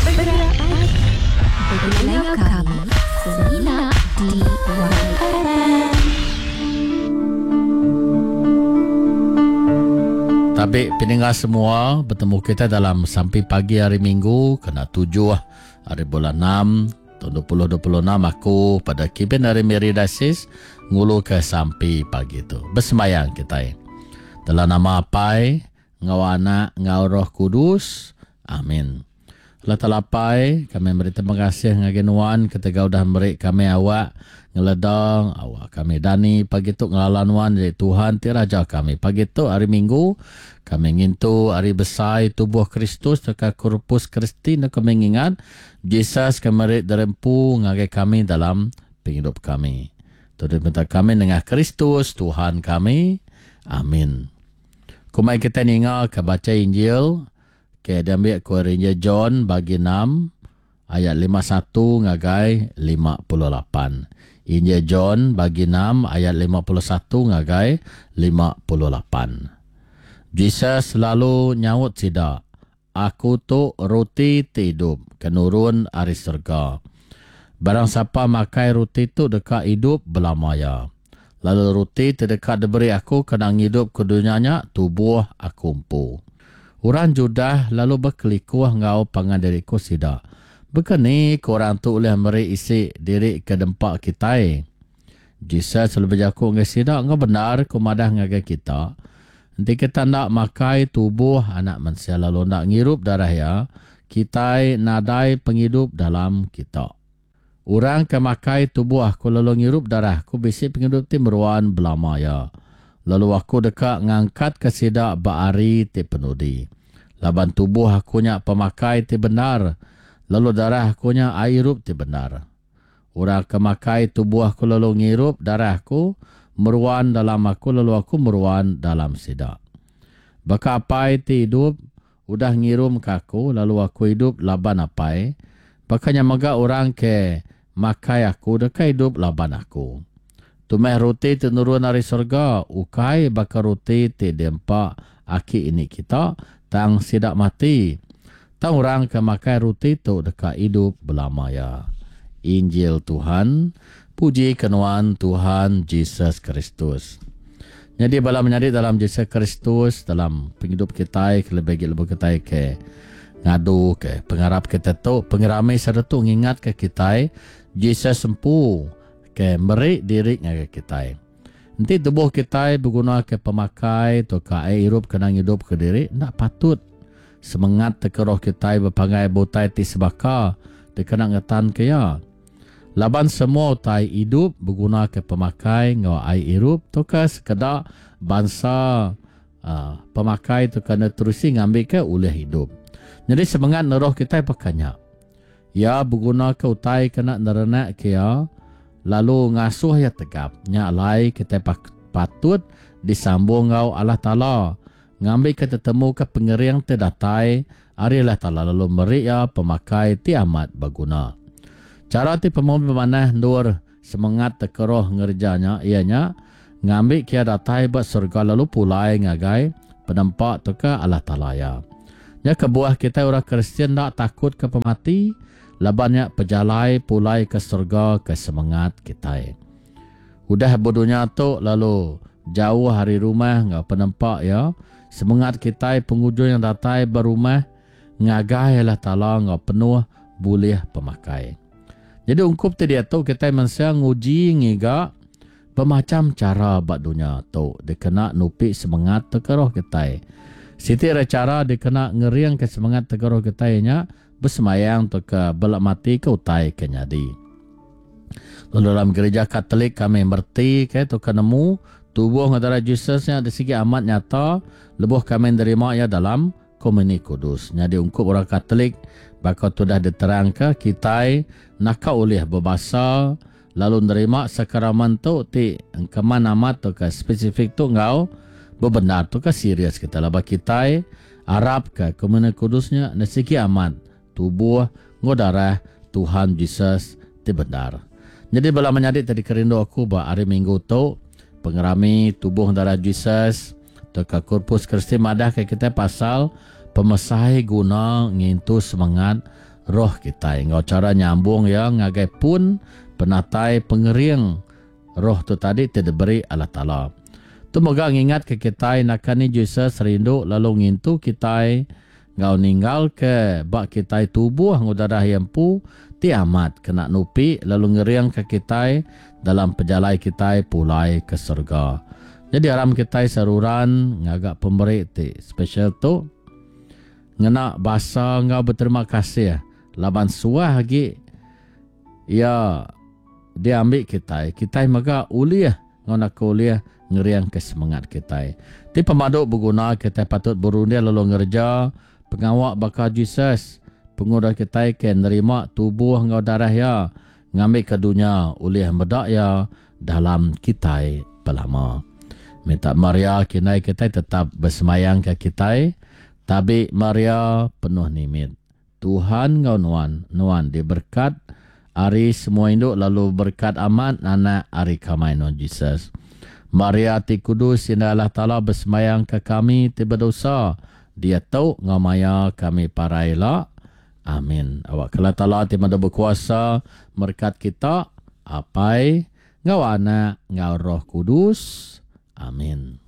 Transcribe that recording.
Bergerak pagi. Begulai enggau kami semina di YFM. Tabi peninga semua, betemu kita dalam sampi pagi hari Minggu kena 7 hari bulan 6 tahun 2026 aku pada Kibin dari Mary Diocese ngulu ke sampi pagi tu. Bersembayang kita. Dalam nama Apai, enggau Anak, enggau Roh Kudus. Amin. Allah Taala Apai, kami meri terima kasih ngagai Nuan ketegal udah meri kami awak ngeleda, awak kami dani pagi tu ngelala Nuan jadi Tuhan ti Raja kami. Pagi tu hari Minggu, kami ngintu hari besai tubuh Kristus tauka Corpus Christi enda kami ngingat Jesus ke meri diri empu ngagai kami dalam pengidup kami. Tu dipinta kami nengah Kristus Tuhan kami. Amin. Kumai kitai ninga ke bacha Injil ke diambi ku ari Injil John bagi 6 ayat 51 ngagai 58. Injil John bagi 6 ayat 51 ngagai 58. Jesus lalu nyaut sida, Aku tu roti ti idup ke nurun ari serega. Barang sapa makai roti tu deka idup belama iya. Lalu roti ti deka diberi aku kena ngidupka dunya nya tubuh aku empu. Orang Judah lalu bekelikuh enggau pangan diri ku sida, Baka ni ku orang tu ulih meri isi diri ke dempa kitai? Jesus lalu bejaku ngagai sida, Enggau bendar ku madah ngagai kita, enti kita enda makai tubuh Anak Mensia lalu enda ngirup darah iya, kitai nadai pengidup dalam kita. Orang ke makai tubuh aku lalu ngirup darah aku bisi pengidup ti meruan belama iya, lalu aku deka ngangkatka sida ba hari ti penudi. Laban tubuh aku nya pemakai ti bendar, lalu darah aku nya ai irup ti bendar. Orang ke makai tubuh aku lalu ngirup darah aku, meruan dalam aku lalu aku meruan dalam sida. Baka Apai ti idup, Udah ngirumka aku, lalu aku idup laban Apai, baka nya mega orang ke makai aku deka idup laban aku. Tu meh roti ti nurun ari serega, ukai baka roti ti diempa aki ini kita, tang sida mati. Tang orang ke makai roti tu deka idup belama iya. Injil Tuhan. Puji ke nuan Tuhan Jesus Kristus. Nyadi bala menyadi dalam Jesus Kristus dalam pengidup kitai kelebih agi lebuh kitai ke ngadu ke pengarap kitai tu pengerami sida tu ngingat ke kitai Jesus empu ke meri diri ngagai kitai. Enti tubuh kitai beguna ke pemakai tauka ai irup kena ngidup ke diri enda patut semengat tauka roh kitai bepanggai ba utai ti sebaka dikena ngetan ke iya. Laban semua utai idup begunaka pemakai enggau ai irup tauka sekeda bansa pemakai tauka nutrisi ngambika ulih idup. Nyadi semengat neruh kitai baka nya. Iya begunaka utai kena nerenakka iya lalu ngasuh iya tegap. Nya alai kitai patut disambung enggau Allah Taala ngambika tetemuka pengering ti datai ari Allah Taala lalu meri iya pemakai ti amat beguna. Chara ti pemadu manah endur semengat tekeroh ngereja nya iya nya ngambika iya datai ba serega lalu pulai ngagai Penempa tauka Allah Taala iya. Nya kebuah kitai orang Kristian enda takutka pemati laban nya pejalai pulai ke serega ke semengat kitai. Udah bedunya tu lalu jauh ari rumah enggau penempa iya, semengat kitai pengujung yang datai ba rumah ngagai Allah Taala enggau penuh bulih pemakai. Nyadi ungkup ti diatu kitai mensia nguji ngiga bemacham chara ba dunya tu dikena nupi semengat tauka roh kitai. Siti ari chara dikena ngeringka semengat tauka roh kitai nya besembayang tauka belematika utai ke nyadi. Lalu dalam gerija Katolik kami mereti ke tauka nemu tubuh enggau darah Jesus nya disigi amat nyata lebuh kami nerima iya dalam Komuni Kudus. Nyadi ungkup orang Katolik baka tu udah diterangka kitai naka ulih bebasa lalu nerima sakramen tu ti engkeman amat tauka spesifik tu enggau bebendar tauka serius kitai laban kitai arapka Komuni Kudus nya nesigi amat tubuh enggau darah Tuhan Jesus ti bendar. Nyadi bala menyadi ti dikerindu aku ba hari Minggu tu, pengerami tubuh darah Jesus tauka Corpus Christi madahka kitai pasal pemesai guna ngintu semengat. roh kitai enggau chara nyambung iya ngagai pun penatai pengering roh tu tadi ti diberi Allah Taala. Tu mega ngingatka kitai naka ni Jesus rindu lalu ngintu kitai enggau ninggalka ba kitai tubuh enggau darah iya empu ti amat kena nupi lalu ngeringka kitai dalam pejalai kitai pulai ke serega. Nyadi aram kitai seruran ngaga pemeri ti special tu ngena basa enggau beterima kasih laban suah agi iya diambi kitai, kitai mega ulih enggau naka ulih ngeringka semengat kitai. Ti pemadu beguna kitai patut berunding lalu ngereja pengawa baka Jesus pengudah kitai ke nerima tubuh enggau darah iya ngambika dunya ulih meda iya dalam kitai belama. Minta Maria kindai kitai tetap besemayangka kitai. Tabi Maria penuh nimit. Tuhan enggau nuan, nuan diberkat ari semua indu lalu berkat amat anak ari kamai nuan Jesus. Maria ti kudus indai Allah Taala besemayangka kami ti bedosa diatu enggau maya kami parai ila. Amin. Awakka Allah Taala ti madu bekuasa merekat kita, Apai, enggau Anak, enggau Roh Kudus. Amin.